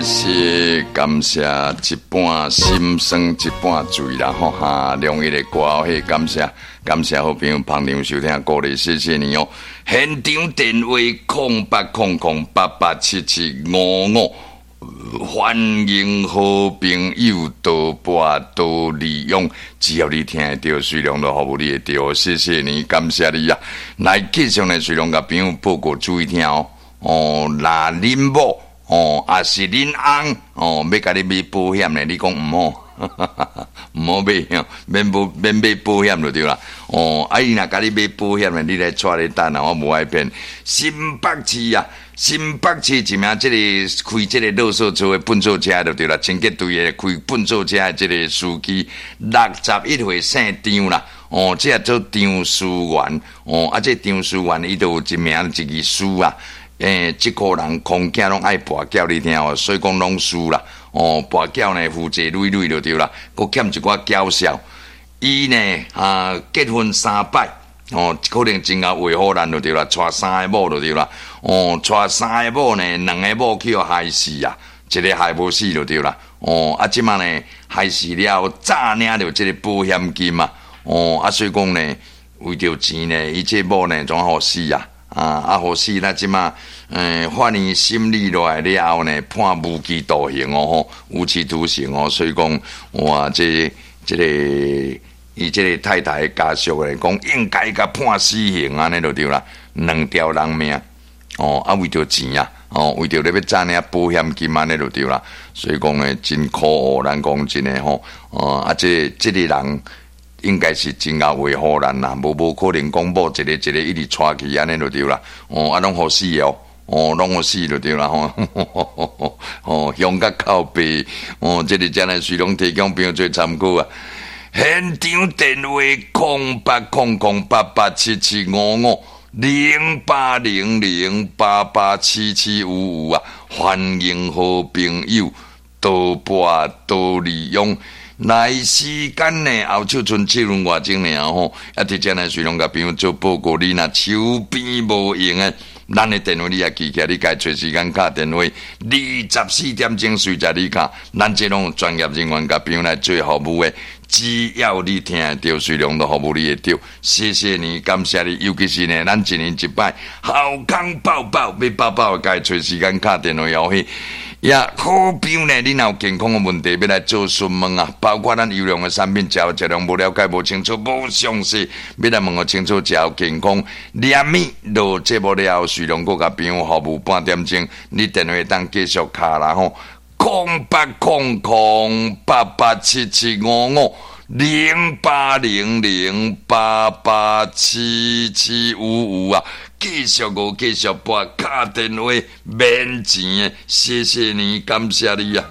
謝感謝一半心酸一半醉啦吼哈，兩一的歌戲感謝感謝好朋友捧場收聽鼓勵，謝謝你哦。現場電話0800887755，歡迎好朋友多撥多利用，只要你聽會著，水龍都服務你會著，謝謝你，感謝你啊！來繼續呢，水龍共朋友報告注意聽哦。哦，若恁某哦，抑是恁翁哦，欲共你買保險呢？你講毋好，毋好買，免保免買保險就對啦。哦，啊伊若共你買保險呢，你來帶咧等啊，我無愛騙。新北市啊，新北市一名這個開這個垃圾車的糞掃車就對啦，清潔隊的開糞掃車的這個司機，61歲姓張啦。哦，這個做張思源，哦，啊，這張思源伊就有一名一字輸啊。欸，這個人空囝攏愛跋筊，你聽哦，所以講攏輸啦。哦，跋筊呢，負債累累就對啦，閣欠一寡繳數。伊呢啊，結婚三擺，哦，可能真𠢕畫虎爛就對啦，娶三个某就對啦。哦，娶三个某呢，兩个某去予害死啊，一个害無死就對啦。哦，啊，這馬呢害死了後，詐領著這個保險金啊。哦，啊，所以講呢，為著錢呢，伊這某呢，怎予死啊？啊啊！予死咱這馬，法院審理落來了後呢，判無期徒刑哦，吼，無期徒刑哦。所以講，哇，這這個伊這個太太家屬來講，應該共判死刑按呢就對啦，兩條人命哦，啊，為著錢啊，哦，為著咧欲詐領保險金按呢就對啦。所以講呢，真可惡，咱講真的吼，哦，啊，這這個人。應該是真𠢕畫虎爛啦，無無可能講某一个一个一直娶去按呢就對啦。哦，啊，攏予死哦，哦，攏予死就對啦吼。哦，鄉甲靠背，哦，這個真係隨攏提供朋友做參考啊。現場電話08008877550800887755啊，歡迎好朋友多撥多利用。來時間呢，後手賰七分外鐘爾吼，啊，佇遮呢，隨攏共朋友做報告，你若手邊無閒的，咱的電話你也記起來，你家揣時間敲電話，24點鐘隨時你敲，咱這攏有專業人員共朋友來做服務的，只要你聽會著，隨攏都服務你會著。謝謝你，感謝你，尤其是呢，咱一年一擺，好康報報，欲報報家揣時間敲電話邀去。呀，好朋友呢，你若有健康的問題欲來做詢問啊，包括咱優良的產品，食食量無了解、無清楚、無詳細，欲來問予清楚，食健康。連物落節目了後，隨攏閣共朋友服務半點鐘，你電話當繼續敲啦吼，08008877550800887755啊！繼續我繼續撥敲電話，免錢的，謝謝你，感謝你啊！